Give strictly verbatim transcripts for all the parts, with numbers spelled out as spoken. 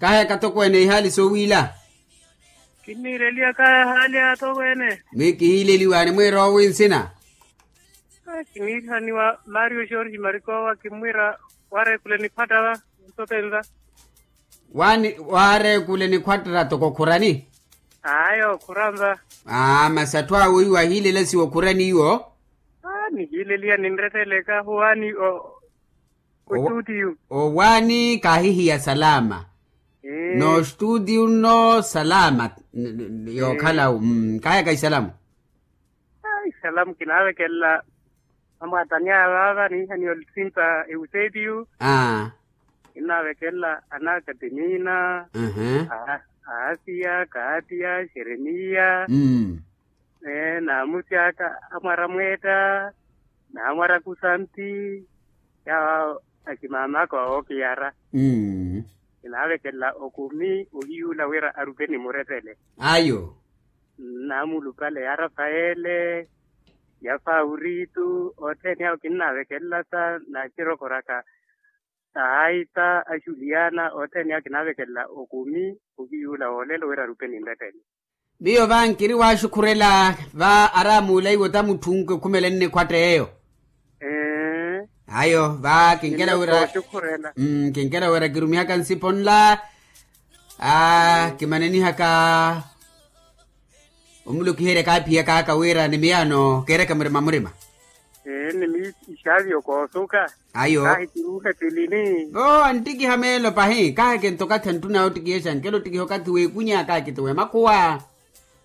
Kahaya katokweene ihaali soowiila. Kinniireliwa kahaya haali atokweene. Mwi kihiileliwaani mwiiroowi nsina. Kinniihaniwa mario george marikowa kimmwiira waareekule nikhwattara. Ntotenza. Waani waareekule nikhwattara toko khurani. Ayo khuranza. Aa masi atthu awo iwo ahiilela siwo khurani iwo. Nihiileliya ninretteleka huwaani. Owaani kaahihiya salama. N'ostutiyu nno salama. Yookhala-wo. Kaayaka isalamu. Isalamu kinaavekelela. Amwaatani aya vaava niihaniya oluttimpa ewuseetiyu. Kinnaavekelela anaka timiina. Aasiya kaatiya xeremiya. Naamusi aka amwara mweetta. Naamwara kusanti. Yaawo aximaamaka ookiyara. Kinaavekelela okumi ohiyuula wira arupe ni murettele. Ayo. Naamulupale ya rafayele. Ya fawuritu othene awo kinnaavekelelasa naaxirokoraka. Ahaita axuliyana othene awo kinaavekelela okumi. Okiyuula woolelo wira arupe ni murettele. Miyo va nkiri waaxukhurela va aramuula iwo ta mutthu nkikhumele nnikhwatta eyo. Ayo va kinkela wira. Kinkela wira kirumihaka nsipo nla. Kimanenihaka. Omulokiherya kaaphiyaka aka wira ni miyaano keereke murima murima. Ee ni miixavyo koosuka. Ayo. Kahi kiruuhe tilini. Vo anttikiha meelo pahi kahi kinto okathi anttunawe ottikihexa nkela ottikiha okathi w'ekunya kahi kiti w'emakhuwa.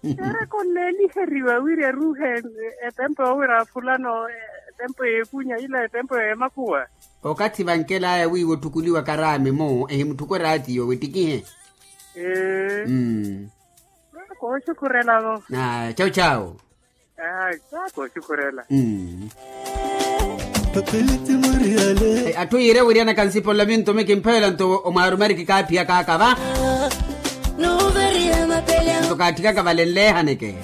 Kereke onneeliheriwa wira eruuhe. Etempo wira fulano etempo y'ekunya ila etempo y'emakhuwa. Okathi vankel'aya wiiwo otthukuliwa karaami-mo ehimutthuku eraatiyo wettikihe. Ee. Kooxukhurela-vo. Chawu chawu. Aa kooxukhurela. Atthu yiire wiryanaka nsipo nla minto mikimphela nto omwaarumariki kaaphiyaka aka va. Nto kaatthikaka vale nleehaneke.